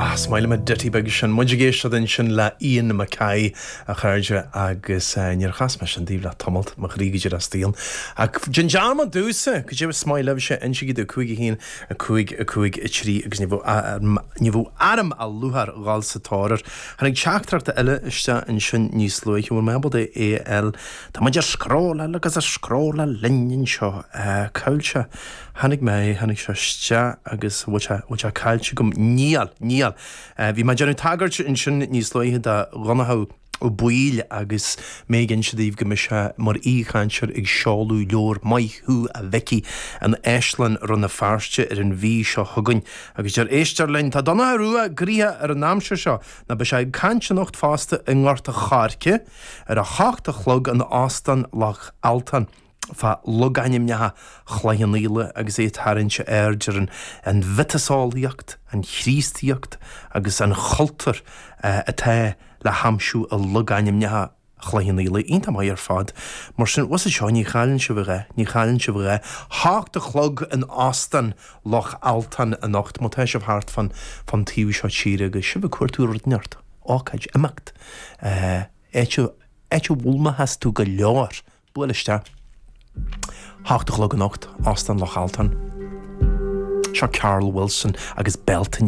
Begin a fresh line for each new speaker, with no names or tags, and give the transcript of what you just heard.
Ah, is maith liom an ditty beag sin. Muid ag éisteacht ansin le Ian MacKaye, a chairde, agus níor chas mé sin daoibh le tamalt, mo chroí go díreach staon. Ach déan dearmad domhsa, cad é is maith libhse, insígí domh, 5 1, 5 5 3 agus ní bheadh ní bheadh orm ach lúcháir dhul sa tóir air. Tháinig teachtaireacht eile isteach ansin níos luaithe, bhfuil mé ábalta é a fháil? Tá muid ag scrolláil agus ag scrolláil linn anseo. Cá bhfuil sé? Tháinig mé, tháinig sé isteach agus bhfuil sé, bhfuil sé caillte agam? Níl, níl. Bhí mé ag déanamh tagairt ansin níos luaithe do Dhonnchadh Ó Baoill agus mé ag inse daoibh go mbeidh sé mar aoichainteoir ag seoladh leabhar Maith Thú a Mhicí in Áislann Rann na Feirste ar an mhí seo chugainn. Agus deir éisteoir linn, tá Donnchadh Rua gnoitheach ar an aimsir seo nó beidh sé ag caint anocht fosta i nGort a' Choirce ar a hocht a chlog in Óstán Loch Altáin. fá logainmneacha Chloich Cheann Fhaola agus é ag tarraingt aird ar an mhiotaseolaíocht, an Chríostaíocht agus an chultúr atá le haimsiú i logainmneacha Chloich Cheann Fhaola. Iontach maith ar fad. Mar sin, bhfuil a fhios agat seo, ní chailleann sibh a dhath, ní chailleann sibh a dhath. Hocht a chlog in Óstán Loch Altáin anocht, má tá sibh thart fán fán taobh seo tíre agus sibh ag cuartú rud inteacht, ócáid, imeacht, áit a áit a bhfoghlaimeochas tú go leor. Buail isteach. Hocht a chlog anocht, Óstán Loch Altáin. Seo Carl Wilson agus Bealtaine.